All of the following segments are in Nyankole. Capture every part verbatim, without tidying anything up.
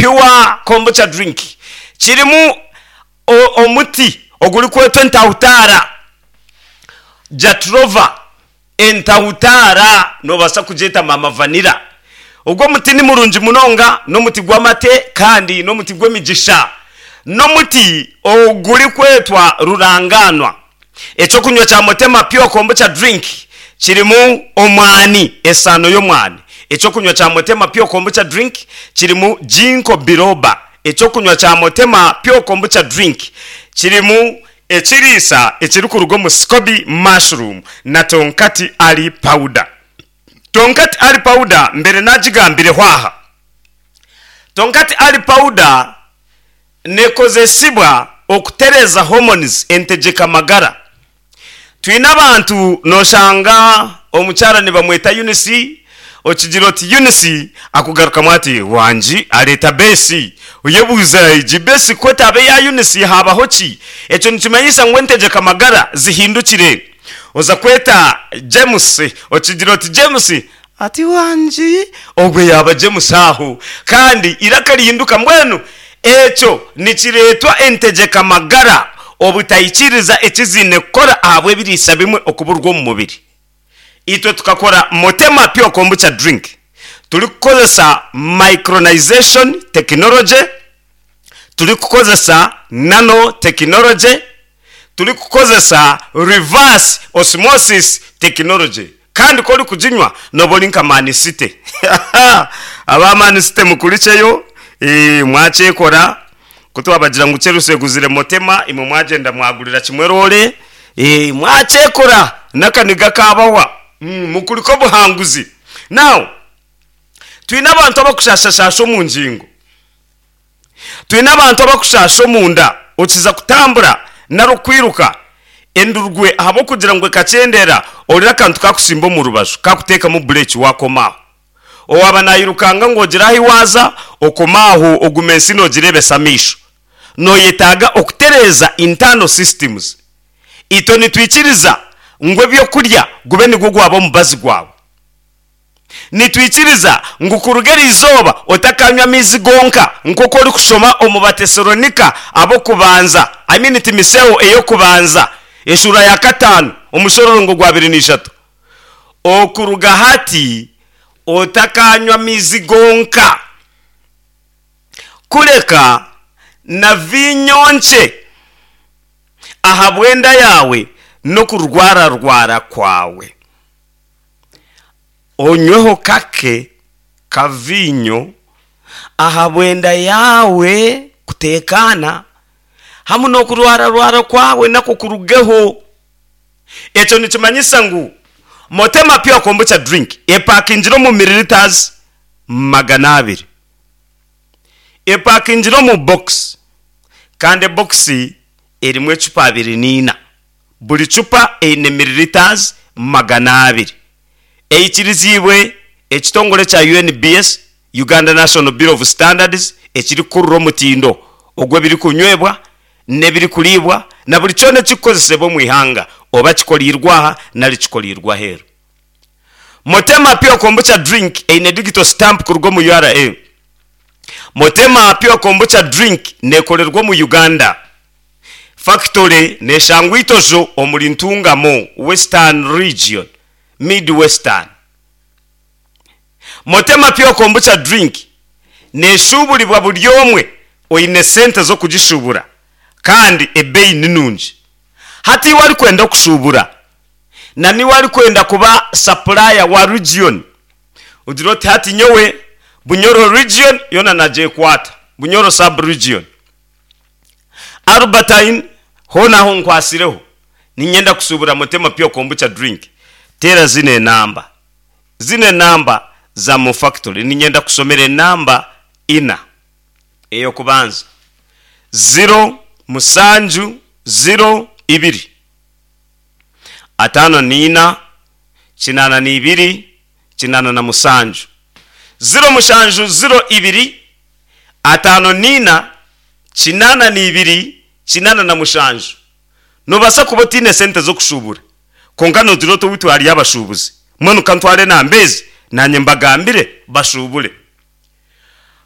Pure Kombucha Drink kirimu omuti ogurikwetwa entahutaara, Jatropha. Entahutaara noobaasa kugyeta Maama Vanilla. Ogwo omuti ni murungi munonga, n'omuti gw'amate kandi n'omuti gw'emigisha. N'omuti ogurikwetwa rurangaanwa. Ekyokunywa kya Motema Pure Kombucha Drink kirimu omwani, esaano y'omwani. Ekyokunywa kya Motema Pure Kombucha Drink kirimu Ginkgo Biloba. Ekyokunywa kya Motema Pure Kombucha Drink kirimu ekiriisa ekirikuruga omu Scoby Mushroom na Tonkati Ali Powder. Tonkati Ali Powder mbere nagigambireho aha. Tonkati Ali Powder nekozesibwa okutereeza hormones, entegyeka magara. Twine abantu noshanga omukyara nibamweta Eunice, okigira oti Eunice akugarukamu ati wangi areeta beesi. Oyebuuza egi beesi ku etaaba eya Eunice habaho ki? Ekyo nikimanyisa ngu entegyeka magara zihindukire. Oza kweta James, okigira oti James ati wangi, ogwe yaaba James aho. Kandi eiraka rihinduka. Mbwenu ekyo nikireetwa entegyeka magara obutaikiriza eki ziine kukora ahabw'ebiriisa bimwe okuburwa omu mubiri. Itwe tukakora Motema Pure Kombucha Drink turikukozesa micronization technology, turikukozesa nano technology, turikukozesa reverse osmosis technology. Kandi ku orikuginywa nooba ori nka Man City. Aba Man City mukurikyeyo, mwakyekora. Ku twabagira ngu Chelsea eguzire Motema, imwe mwagyenda mwagurira kimwe roore, mwakyekora n'akaniga kaabahwa. Mukurike obuhanguzi. Now, twine abantu abakushashashasha omu ngingo. Twine abantu abakushasha omunda, okiza kutambura nari okwiruka endurwe ahabw'okugira ngu ekakyendera, orira akantu kakusimba omu rubaju kakuteekamu bureeki wakoma aho. Owaaba naayirukanga ngu ogire ahu waaza, okoma aho oguma ensi noogireebesa amaisho. Nooyetaaga okutereeza internal systems. Itwe nitwikiriza ngu ebyokurya gube nigwo gwaba omubazi gwawe. Nitwikiriza ngu kuruga eriizooba otakanywa amaizi gonka nk'oku orikushoma omu Batesalonika ab'okubanza, I mean Timiseo ey'okubanza eshuura ya kataano omushororongo gwa abiri na ishatu. Okuruga hati otakanywa amaizi gonka, kureka na viinyo nkye ahabw'enda yaawe n'okurwararwara kwawe. Onyweho kake ka viinyo ahabw'enda yaawe kuteekaana, hamwe n'okurwararwara kwawe nakwo kurugeho. Ekyo nikimanyisa ngu Motema Pure Kombucha Drink epakingire omu millilitres magana abiri. Epakingire omu box kandi ebokisi erimu ecupa abiri n'eina. Buri cupa eine millilitres magana abiri. Eikiriziibwe ekitongore ekya U N B S, Uganda National Bureau of Standards, ekirikukurura omutindo ogw'ebirikunywebwa n'ebirikuriibwa na buri kyona ekirikukozesebwa omu ihanga, oba kikoriirwe aha nari kikoriirwe aheeru. Motema Pure Kombucha Drink eine digital stamp kuruga omu U R A. Motema Pure Kombucha Drink neekorerwa omu Uganda. Factory neeshangwa Itojo omuri Ntungamo, Western Region, Mid Western. Motema Pure Kombucha Drink neeshuuburibwa buri omwe oine sente z'okugishuubura kandi ebeeyi ni nungi. Hati iwe arikwenda okushuubura na niwe arikwenda kuba supplier wa region, ogira oti hati nyowe Bunyoro region yoona nagyekwata, Bunyoro sub region, Albertine hoona aho nkwasireho, niinyenda kushuubura Motema Pure Kombucha Drink, teera zino enamba. Zino enamba za mu factory. Niinyenda kushomera enamba ina. Ey'okubanza, ziro mushanju ziro ibiri ataano n'ina kinaana n'ibiri kinaana na mushanju. Ziro mushanju ziro ibiri ataano n'ina kinaana n'ibiri kinaana na mushanju. Noobaasa kuba otaine sente z'okushuubura kwonka noogira oti owaitu hariyo abashuubuzi, mbwenu ka ntware enamba ezi naanye mbagambire bashuubure.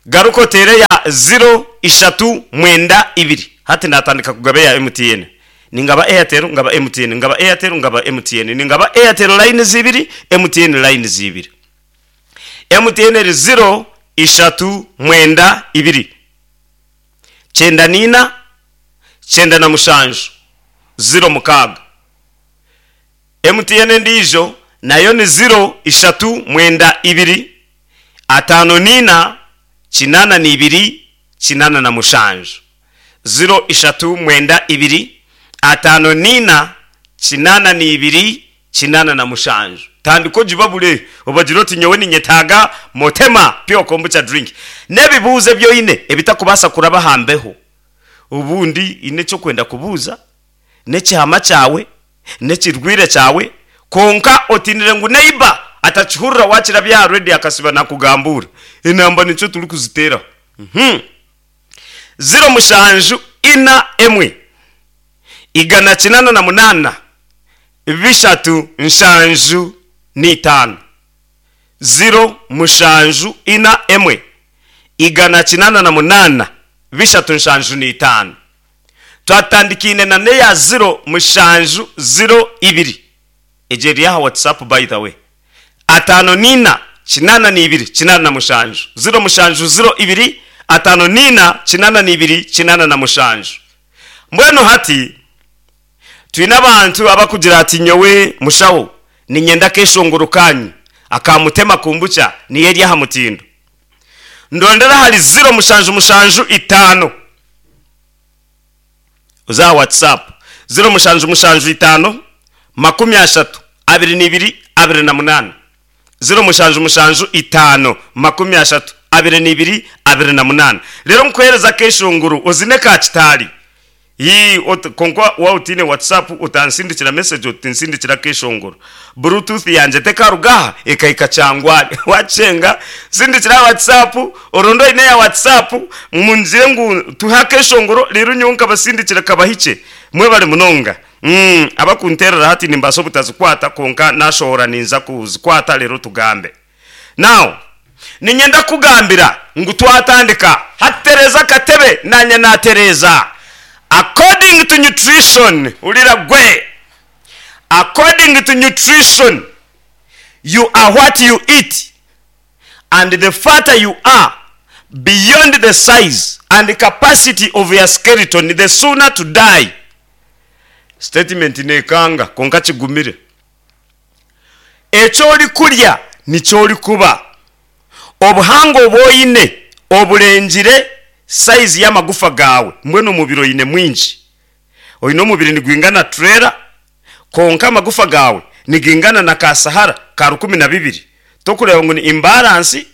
Garuka oteere ya ziro ishatu mwenda ibiri. Hati natandika kugaba eya M T N. Ningaba Airtel, ngaba M T N, ngaba Airtel, ngaba M T N. Ningaba Airtel line zibiri, M T N line zibiri. M T N eri ziro ishatu mwenda ibiri kyenda nina kyenda na mushanju ziro mukaaga. M T N endiijo nayo ni ziro ishatu mwenda ibiri ataano nina kinana n'ibiri kinana na mushanju. Ziro ishatu mwenda ibiri ataano nina kinana n'ibiri kinana na mushanju. Tandika ogibabure, obagira oti nyowe ninyetaaga Motema Pure Kombucha drink n'ebibuuzo ebyoine ebitakubaasa kuraba hambeho. Obundi ine ekyokwenda kubuuza n'ekihama kyawe n'ekirwire kyawe, konka otinire ngu neiba atakihurira wakira bya redi akasiba nakugambura. Enamba nikyo turi kuziteeraho. Mhm. Ziro mushanju ina emwe igana kinana na munana bishatu nshanju n'itaano. Ziro mushanju ina emwe igana kinana na munana bishatu nshanju n'itaano. Twatandikine na neya ziro mushanju ziro ibiri. Egyo eri aha WhatsApp, by the way. Ataano nina kinana n'ibiri kinana na mushanju. Ziro mushanju ziro ibiri ataano nina kinana n'ibiri kinana na mushanju. Mbwenu hati twine abantu abakugira ati nyowe mushaho ninyenda keshongoro kanyu akamutema kombucha niyo eri aha mutindo. Ndondera hari ziro mushanju mushanju itaano. Uza WhatsApp ziro mushanju mushanju itaano makumi ashatu abiri n'ibiri abiri na munana. Ziro mushanju mushanju itaano makumi ashatu abiri n'ibiri abiri na munana. Rero nkuhereza keshongoro ozine ka kitari yi ot- konka wautine WhatsApp utansindikira message utinsindikira keshongoro. Bluetooth yanje tekarugaha ekaika kyangwari wacenga. Sindikira WhatsApp orondo ine ya WhatsApp munzire ngu tuha keshongoro rero nyonka basindikira kabahike. Mwebale munonga. mm, abakunterera hati nimbaso butazikwata, konka nashohora ninza kuzikwata. Rero tugambe now, ninyenda kugambira ngu twatandika hatereza katebe nanye natereza. According to nutrition, ulira gwe, according to nutrition, you are what you eat, and the fatter you are beyond the size and the capacity of your skeleton, the sooner to die. Statement nekanga, konka kigumire. Ekyo oli kulya nikyo oli kuba. Obuhanga obwoine oburengire size y'amagufa gawe. Mbwenu omubiri oine mwingi, oine omubiri nigwingana trailer, konka amagufa gawe nigingana na kasahara ka rukumi na bibiri. Tokureba ngu ni imbalance.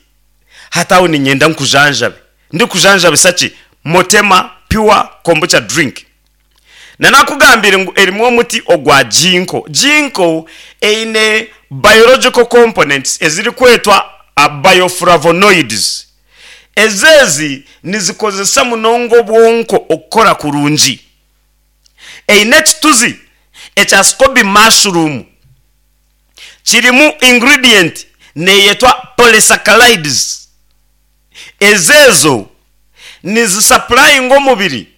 Hataho ninyenda nkujanjabe, ndikujanjabisa ki? Motema Pure Kombucha drink. Nanakugambire ngu erimu omuti ogwa ginkgo. Ginkgo eine biological components eziri kwetwa uh, bioflavonoids. Ezezi nizikozesa munonga obwonko okukora kurungi. Eine ekituzi ekya scoby mushroom, kirimu ingredient neyetwa polysaccharides. Ezezo nizisupplyinga omubiri,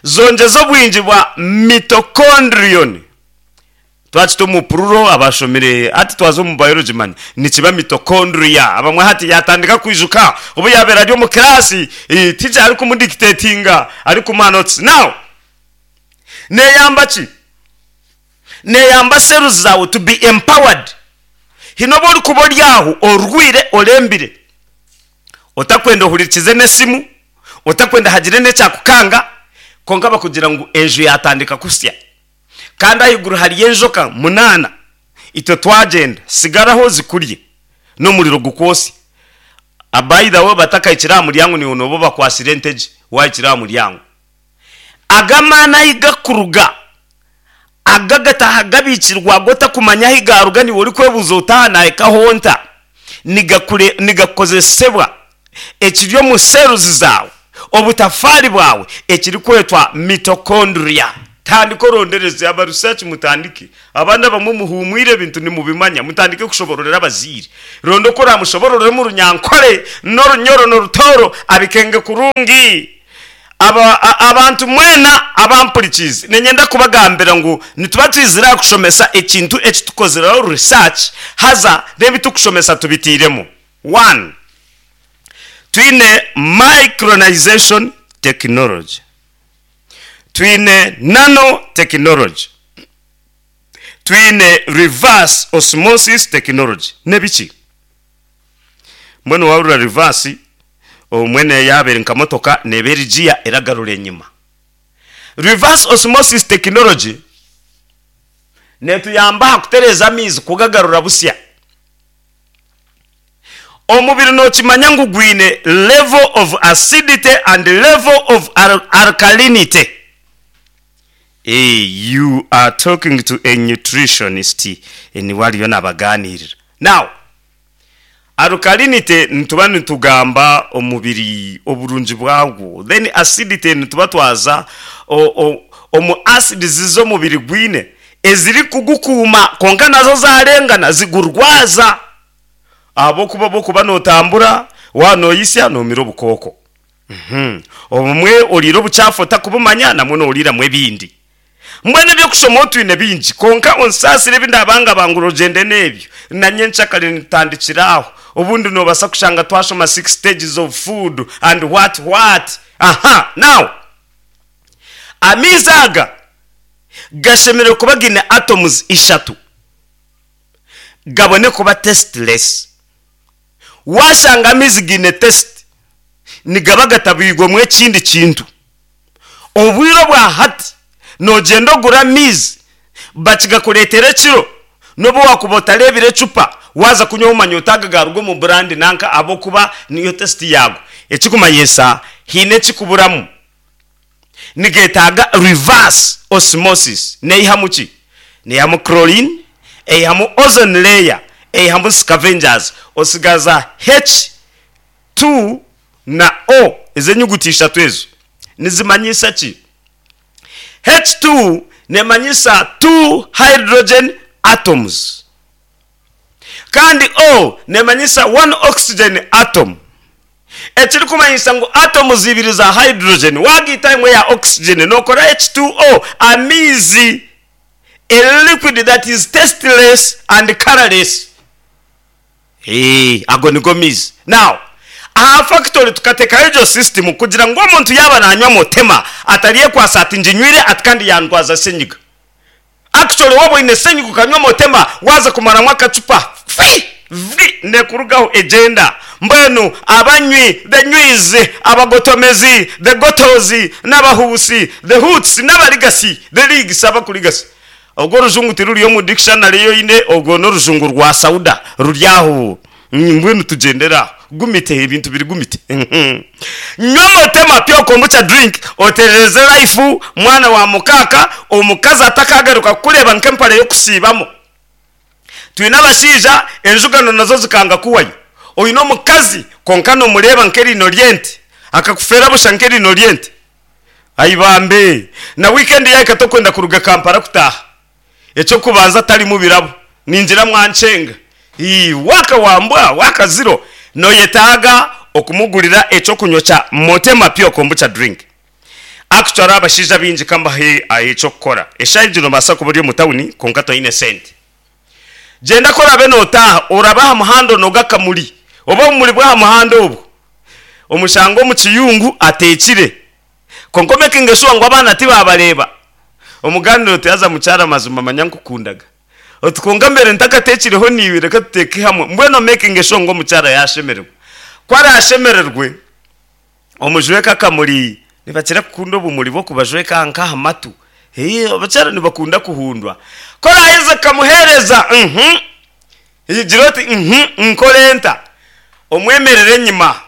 zongeza obwingi bwa mitochondrion. Twakita omu plural, abashomire ati twaza omu biology man nikiba mitochondria. Abamwe hati yatandika kwijuka obu yabera ari omu class, eh, teacher ari kumudictatinga, ari kumuha notes. Now neyamba ki? Neyamba cells zawe to be empowered. Hino oba orikuba ori aho orwire, orembire, otakwenda ohurikize n'esimu, otakwenda hagire n'ekyakukanga, konka bakugira ngu enju yatandika kusya kandi ahiguru hariyo enjoka munaana, itwe twagenda sigaraho zikurye n'omuriro gukwosya. Abayida we batakahikire aha muryango, niwe nobo bakwasire entege wahikire aha muryango. Agamaani ahi gakuruga aga gataha gabikirwa gotakumanya ahi garuga, niwe orikwebuuza otaha nahikahonta. Nigakure nigakozesebwa ekiri omu cells zawe, obutafaari bwawe, ekirikwetwa mitochondria. Tandika orondereze aba research, mutandike. Abandi abamwe muhumwire ebintu nimubimanya, mutandike kushobororera abaziire. Ronda oku oramushobororere mu Runyankore n'Orunyoro n'Orutooro, abikenge kurungi. Aba, a- abantu mwena abampurikiize, niinyenda kubagambira ngu nituba twizire aha kushomesa ekintu eki tukozireho research, haza n'ebi tukushomesa tubitiiremu. One, twine micronization technology, twine nanotechnology, twine reverse osmosis technology. Nebiki? Mbwenu wahurira reverse, omwene yabeere nka motoka neeba eri giya eragarura enyima. Reverse osmosis technology netuyamba aha kutereeza amaizi kugagarura busya. Omubiri nokimanya ngu gwine level of acidity and level of al alkalinity. Hey, you are talking to a nutritionist, niwe ariyo nabaganirira. Now, alkalinity nituba nitugamba omubiri oburungi bwagwo, then acidity nituba twaza omu acids z'omubiri gwine eziri kugukuuma, kwonka nazo zarengana zigurwaza, ahabw'okuba obw'okuba notambura waaba noyisya nomira obukooko, obumwe oriire obukyafu otakubumanya, namwo noriiramu ebindi. Mbwenu eby'okushoma otwine bingi, kwonka onsaasire ebi ndabangabangura ogyende n'ebyo. Na nyenkyakare nitutandikira aho. Obundi noobaasa kushanga twashoma six stages of food and what what. Aha, now, amaizi aga gashemereire kuba gaine atoms ishatu gabone kuba tasteless. Waashanga amaizi gaine taste, nigaba gatabwirwemu ekindi kintu. Obwire obwa hati noogyenda ogura amaizi bakigakureetera ekiro, n'obu waakuba otareebire ecupa, waaza kunywa omanya oti aga gaaruga omu burandi nanka ahabw'okuba niyo taste yaago. Ekirikumanyisa haine ekirikuburamu. Nigeetaaga reverse osmosis. Neihamu ki? Neihamu chlorine, eihamu ozone layer, eihamu scavengers, osigaza H two na O. Ezo enyuguti ishatu ezo nizimanyisa ki? H two neemanyisa two hydrogen atoms, kandi O neemanyisa one oxygen atom. Ekirikumanyisa ngu atoms ibiri za hydrogen waagaita emwe ya oxygen nookora H two O, amaizi, a liquid that is tasteless and colourless. Eeh, ago nigo maizi. Now, aha factory tukateekaho egyo system kugira ngu omuntu yaaba nanywa Motema ataryekwasa ati nginywire ati kandi yandwaza senyiga. Actually waaba oine senyiga okanywa Motema waaza kumaramu akacupa fi! Vi! Nekurugaho egyenda. Mbwenu abanywi, the nywiz, abagotomezi, the gotos, n'abahuusi, the hoots, n'abarigasi, the rigs, abakurigasa. Orwo orujungu tiruri omu dictionary ei oine, orwo n'orujungu rwa Sauda ruri aho. Mbwenu tugyendere aho. Gumite, ebintu biri gumite. Nywa Motema Pure Kombucha Drink oterereze life mwana wa mukaaka, omukazi atakagaruka kukureeba nk'empare y'okusiibamu. Twine abashaija enjugano nazo zikanga kuhwayo. Oine omukazi kwonka nomureeba nk'eriino ry'ente, akakufeera busha nk'eriino ry'ente. Ai bambe! Na wiikendi yaahika tokwenda kuruga Kampala kutaaha. Eky'okubanza tarimu birabo. Ningira mwankyenga. Ii, waaka wa mbwa, waaka ziro. Noyetaaga okumugurira eky'okunywa kya Motema Pure Kombucha Drink. Actually abashaija abaingi ka mbahe eky'okukora. Eshaaha egi nobaasa kuba ori omu tawuni kwonka toine sente. Gyenda ku oraabe nootaaha, orabe aha muhanda onoge akamuri oba obumuri bw'aha muhanda obwo omushange omu kiyungu ateekire. Kwonka omekinge shuwa ngu abaana tibaabareeba. Omugaaniire oti, Haza mukyara mazima manya nkukundaga. Oti, Kwonka mbaire ntakateekireho naiwe, reka tuteeke hamwe. Mbwenu omekinge shuwa ngu omukyara yaashemererwa. Ku araashemererwe, omujweke akamuri. Nibakira kukunda obumuri bw'okubajweka nk'aha matu. Ee, abakyara nibakunda kuhundwa. Ku oraaheze kukamuheereza, uhmm, gira oti, Uhmm, nkore nta? Omwemerere enyima.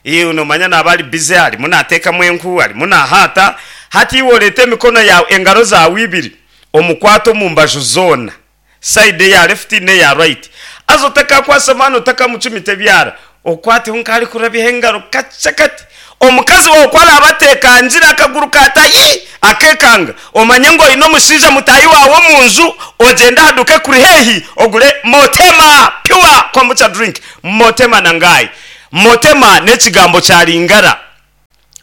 Iwe noomanya naaba ari bize, arimu naateekamu enku, arimu naahaata. Hati iwe oreete emikono yaawe, engaro zaawe ibiri, omukwate omu mbaju zoona, sayidi eya lefuti n'eya rayiti. Haza otakakwasa amaani, otakamucumita ebyara, okwateho nk'arikurabyaho engaro kakye kati. Omukazi waawe ku araabe ateekangire akaguru kaata yi, Akekanga omanye ngu oine omushaija mutaahi waawe omu nju, ogyende aha duuka ekuri haihi ogure Motema Pure Kombucha Drink. Motema na Ngai. Motema n'ekigambo kya Lingala.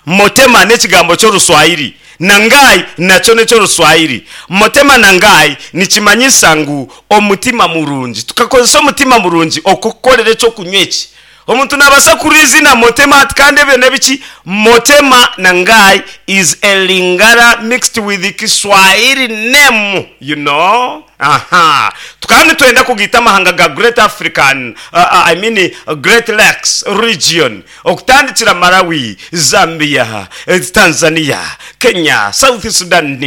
Motema n'ekigambo ky'Oruswahili, na Ngai nakyo n'eky'Oruswahili. Motema na Ngai nikimanyisa ngu omutima murungi. Tukakozesa omutima murungi okukukorera eky'okunywa eki. Omuntu naabaasa kuhurira eiziina Motema ati kandi ebyo n'ebiki? Motema na Ngai is a Lingala mixed with Kiswahili name, you know. Aha. Tukaba nitwenda kugaita amahanga ga Great African, I mean Great Lakes region, okutandikira Malawi, Zambia, Tanzania, Kenya, South Sudan,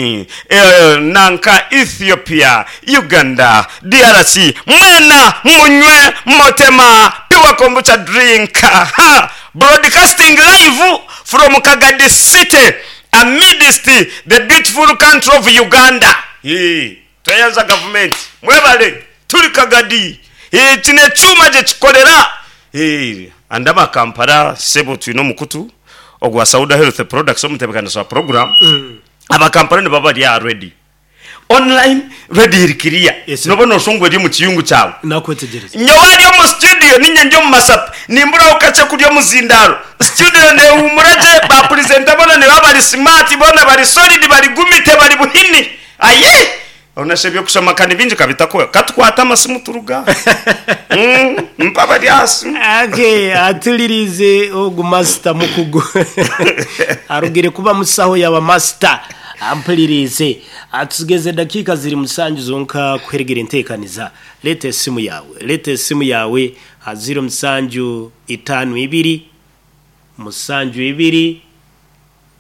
nanka Ethiopia, Uganda, D R C, mwena munywe Motema Pure Kombucha Drink. Ha! Broadcasting live from Kagadi City amidst the beautiful country of Uganda. Hii, tweyanza gavumenti. Mwebale, turi Kagadi. Hii, kino ekyuma gye kikorera. Hii, and aba Kampala sebo twine omukutu ogwa Sauda Health Products omutebekanisa wa program. Aba Kampala nibaba bari aha ready. Online radio eri clear. Yes, sir. Noba noshusha ngu eri omu kiyungu kyawe. Nakwetegyereza. Nyowe ari omu studio ninye ndi omu masape nimburaho kakye kurya omuzindaaro. Studio nehuumura gye, ba presenter boona nibaba bari smart, boona bari solid, bari gumite, bari buhini. Aye! Onasha eby'okushoma ka nibingi kabitakuhwa. Katukwate amasimu turuge aha. Mm, mpa abari aha simu. Okay, atulirize ogu master mukugu arugire kuba musaho yaba master ampulirize. Atugeze dakiika ziri musanju zonka kuheregera enteekaniza. Leeta esimu yawe, leeta esimu yawe ha ziro musanju itaano ibiri musanju ibiri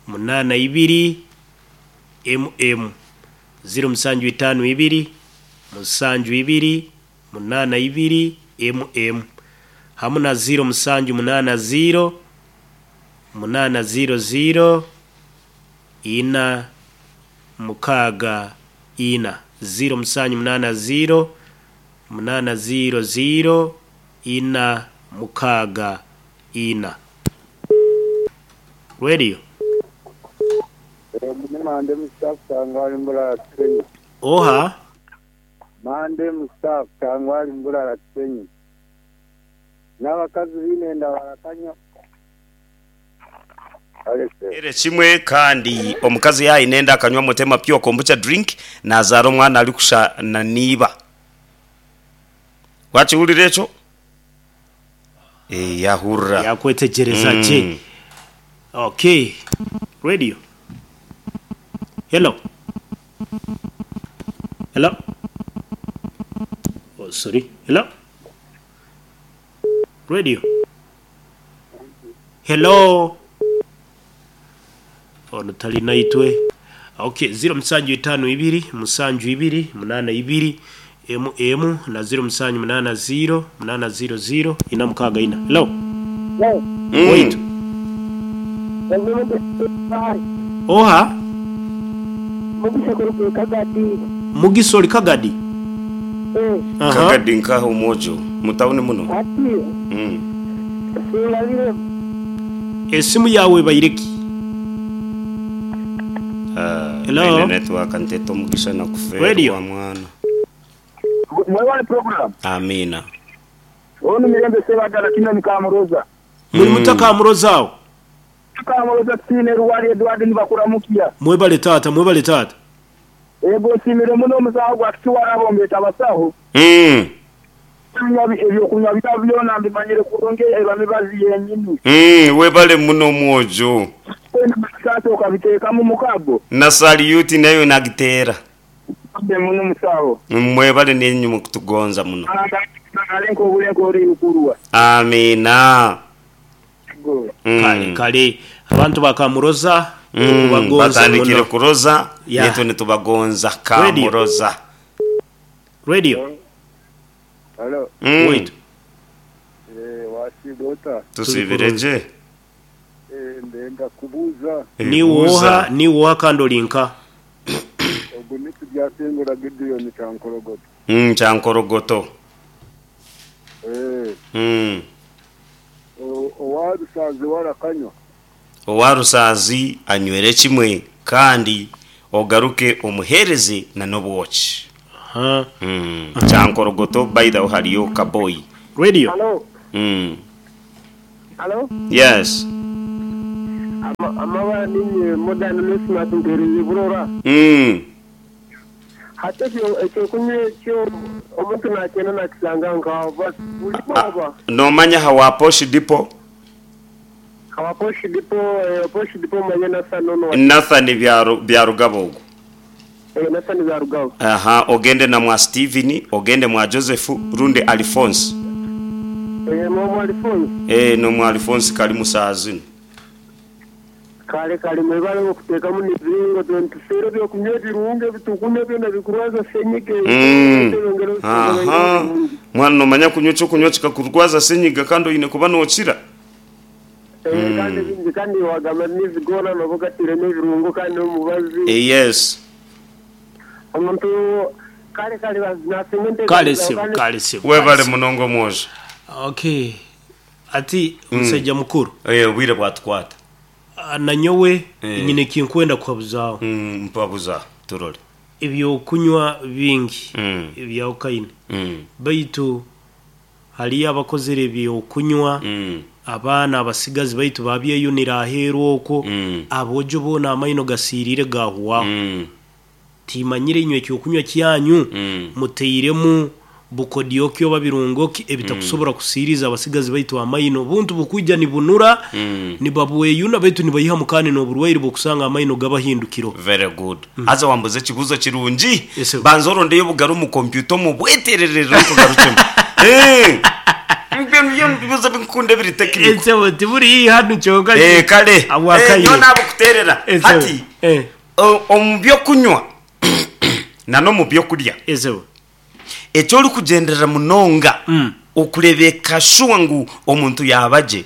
munaana ibiri mm ziro musanju itaano ibiri musanju ibiri munaana ibiri mm hamu na ziro musanju munaana ziro munaana ziro ziro ina mukaaga ina, ziro musanju munaana ziro munaana ziro ziro ina mukaaga ina. Radio. Ni Mande Mustafa Kangwali Mburara Kisenyi. Oha? Mande Mustafa Kangwali Mburara Kisenyi. N'abakazi baine barakanywa. Ere kimwe kandi omukazi yaine enda akanywa Motema Pure Kombucha Drink nazaara omwana arikusha na niiba. Wakihurira ekyo? Eh, yahurira. Yakwetegyereza Mm. gye. Okay. Radio. Hello. Hello. Oh, sorry. Hello. Radio. Hello. Ono talina itwe. Okay, ziro musanju itaano ibiri musanju ibiri munaana ibiri mm na ziro musanju munaana ziro munaana ziro ziro ina mukaaga ina. Hello. Mm. Wait. Oha? Mugisha ori Kagadi. Aha. Kagadi nkaha omwojo mutawuni muno. Mm. Esimu yawe baireki. Ah, Hello? eine network nteta omugisha nakuferwa Radio. mwana. Mwebale program. Amina. Onu Mirembe Sebagala kino ni Kamuroza. Muri mutaka Muroza. Kamuroza tine Ruwali Edward nibakuramukia. Mwebale tata, mwebale tata. Ego nsimire muno omusaho gwa kiwarabombeta abasaho. Mm. Ebyokunywa bitabo byona mbimanyire kurungi eba mibazi yenyini. Mm, webale muno omwojo. Sasa ukabiteekamu mukago. Na salute nayo nagiteera. Muno musaho. Mwebale nenyu mukutugonza muno. Alenko obulenko ori ukurwa. Amina. Mm. Kale kale abantu bakamuroza Mm, tukubagonza batandikire muno. kuroza Ya. netwe nitubagonza Kamuroza. Radio. Hello. Mm. Wait. Eh wasigota. Tusibireje. Eh ndenda kubuza Ni woha, ni woha kandi olinka. ogu nitu byasingura Gideon Kyankorogoto. Mm, Kyankorogoto. Eh Mm. owarusazi warakanywa. Owarusazi anywere kimwe kandi Ogaruke omuhereze na n'obwoki. Aha. Mm. Kyankorogoto by the way hariyo kaboyi. Radio. Halo, Mm. halo. Yes. Ama- Amabara ninye modern Christmas ntereye burora. Mm. Hati ekyo ekyokunywa ekyo omuntu nakyenda nakisanga nkaho basi buli baba. Nomanya hawa Posh Depot Hawa Posh Depot, eh, Posh Depot manye nasa nono. Nathan bya Byarugabo ogwo. Eh, nasa ni Byarugabo. Aha, ogende na mwa Steven, ogende mwa Joseph runde Alphonse. Eh, mwa Alphonse. Eh, no mwa Alphonse kali musazini. Kale kale mwebale okuteekamu n'ebiringo tontuseera ebyokunywa ebirungi ebitukunywa byona bikurwaza senyiga. Mm. Aha. Mwana nomanya kunywa ekyokunywa kikakurwaza senyiga kandi oyine kuba nokira. Eh, kandi bingi kandi wagamba n'ezigona noba ogatire n'ebirungo kandi n'omubazi. Eh, yes. Omuntu kale kale nasinga Kale sebo, kale sebo. Webale munongo mwojo. Okay. Ati musajja mukuru. Eh, obwire bwatukwata. Ah, nanyowe Eh. nyine kinkwenda kuhabuzaho. Mm, mpabuza turole. Ebyokunywa bingi Mm. ebyawukaine. Mm. Baitu haliyo abakozere ebyokunywa Mm. abaana abasigazi baitu babyeyunira aheeru okwo Mm. abojo boona amaino gasiirire gahuwaho. Mm. Timanyire inywe ekyokunywa kyanyu Mm. muteiremu bukodyoki oba birungoki ebitakusobora kusiiriza abasigazi baitu amaino buntu bukwija nibunura Mm. nibabweyuna baitu nibayihamu kandi n'oburwaire bw'okusanga amaino gabahindukiro. Very good. Aza wambuze ekibuzo kirungi. Yes, sir. Banza orondeyo obugaro mu kompyuta omubwetererere okugarukyemu. Eh. Mbyo bibuzo binkunda ebiri technical. Ensebo tiburi hanu kyonka. Eh, kale. Abwakaire. Eh, nyo nabukuterera. Ensebo. Hati Eh, o- omu byokunywa na n'omu byokurya ensebo. ekyo orikugenderera munonga Mm. okurebeka shuwa ngu omuntu yabagye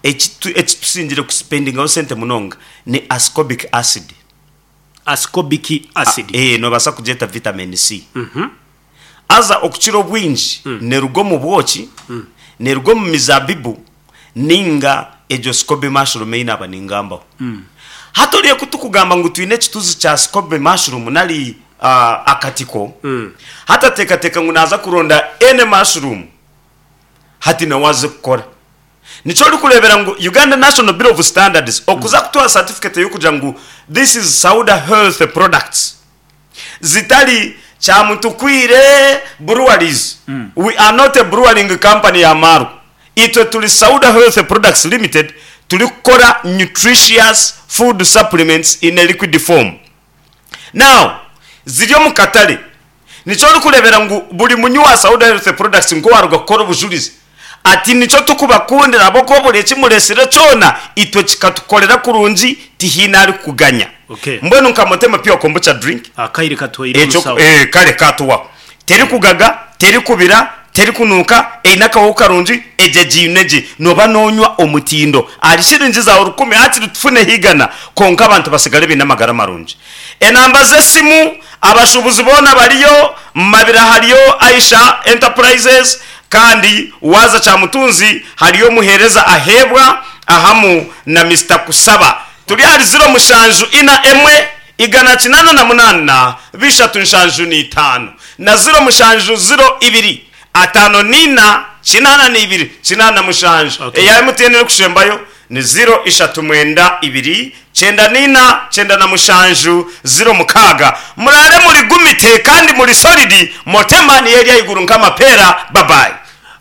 ekitu ekitusingire kusipendingaho sente munonga ni ascorbic acid. Ascorbic acid. Eh, nobasa kugyeta vitamin C. Mhm. Aza okukira obwingi neruga omu bwoki, neruga omu mizabibu ninga egyo scoby mushroom ei naaba ningambaho. Hati oriyo kutukugamba ngu twine ekituzi kya scoby mushroom nari uh, akatiko Mm. hati ateekateeka ngu naaza kuronda any mushroom hati nawe aze kukora. Nikyo orikureebera ngu Uganda National Bureau of Standards okuza kutuha certificate y'okugira ngu this is Sauda Health Products zitari Kyamutukwire Breweries. We are not a brewing company ya Maru. Itwe tuli Sauda Health Products Limited tuli kukora nutritious food supplements in a liquid form. Now, ziri omu katale. Nikyo orikureebera ngu buri munywi wa Sauda Health Products nkowaruga kukora obujurizi ati nikyo tukubakundira ahabw'okuba buri ekimuresire kyona itwe kikatukorera kurungi tihiine arikukuganya. Okay. Mbwenu nka Motema Pure Kombucha drink Akaire katwaire ekyo omusawo. eh, kale katuwaho terikugaga terikubira terikunuuka eine akahoho karungi egye giine gye noba nonywa omutindo ahari shiringi zawe rukumi hakiri tufune higana konka abantu basigale baine amagara marungi. Enamba z'esimu abashubuzi boona bariyo Mabira hariyo Aisha Enterprises kandi waza Kyamutunzi hariyo omuheereza aheebwa ahamu na Mister Kusaba. Turi ahari ziro mushanju ina emwe igana kinana na munana bishatu nshanju n'itaano na ziro mushanju ziro ibiri atano nina kinana n'ibiri kinana mushanju. Okay. Eya M T N erikushembayo ni ziro ishatu mwenda ibiri kyenda nina kyenda na mushanju ziro mukaaga. Murare muri gumite kandi muri solidi Motema niyo eri ahaiguru nk'amapeera. Bye bye.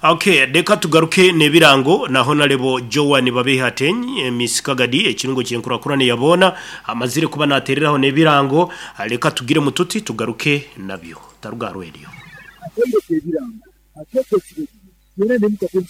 Okay, reka tugaruke n'ebirango na Honorable Joan Babihatenyi Miss Kagadi ekirungo kyenkurakurane yabona amazire kuba natereraho n'ebirango. Reka tugire mututi tugaruke nabyo taruga radio. Atende ebirango, atete ekirego, yera ne mukatende.